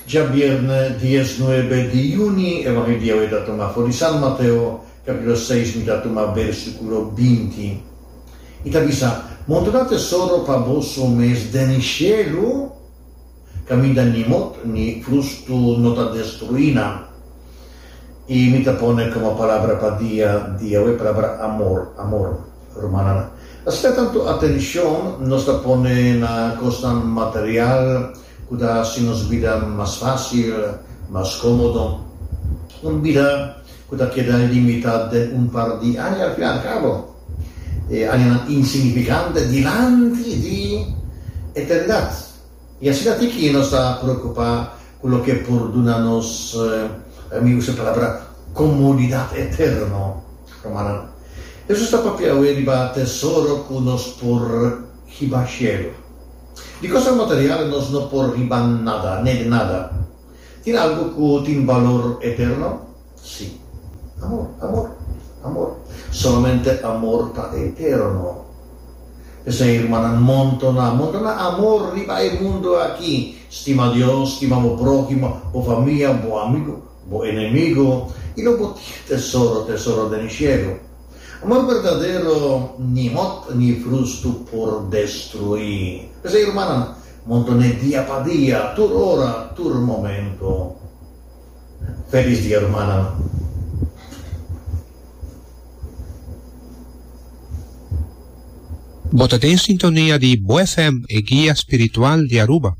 Djabierne diesnuebe di juni, Evangelio e ta tuma for di San Mateo, capítulo seis, mi ta tuma versículo binti. I ta bisa, Montoná tesoro pa boso mes den shelu, kaminda ni mot ni frustu no ta destruí nan. I mi ta pone komo palabra pa dia di awe palabra amor, amor. Rumannan, asina tantu atenshon nos ta pone na kosnan material ku ta hasi nos bida mas fásil, mas kómodo. Un bida ku ta keda limitá den un par di aña al fin al kabo. E añanan insignifikante dilanti di eternidat. I asina tiki nos ta preokupá ku loke por duna nos, mi usa e palabra, komodidat eterno. Rumannan, Hesus ta papia awe riba tesoro ku nos por hiba shelu. Di kosnan material nos no por hiba nada, nèt nada. Tin algu ku tin balor eterno? Sí. Amor, amor, amor. Solamente amor ta eterno. P'esei, rumannan, montoná, montoná amor riba e mundu aki. Stima Dios, stima bo próhimo, bo famia, bo amigu, bo enemigu, i lo bo tin tesoro, tesoro den shelu. Amor berdadero ni mòt ni frustu por destruí. P'esei, rumannan, montoné dia pa dia, tur ora, tur momento. Felis dia rumannan. Bo ta den sintonia di Bo FM, e guia spiritual di Aruba.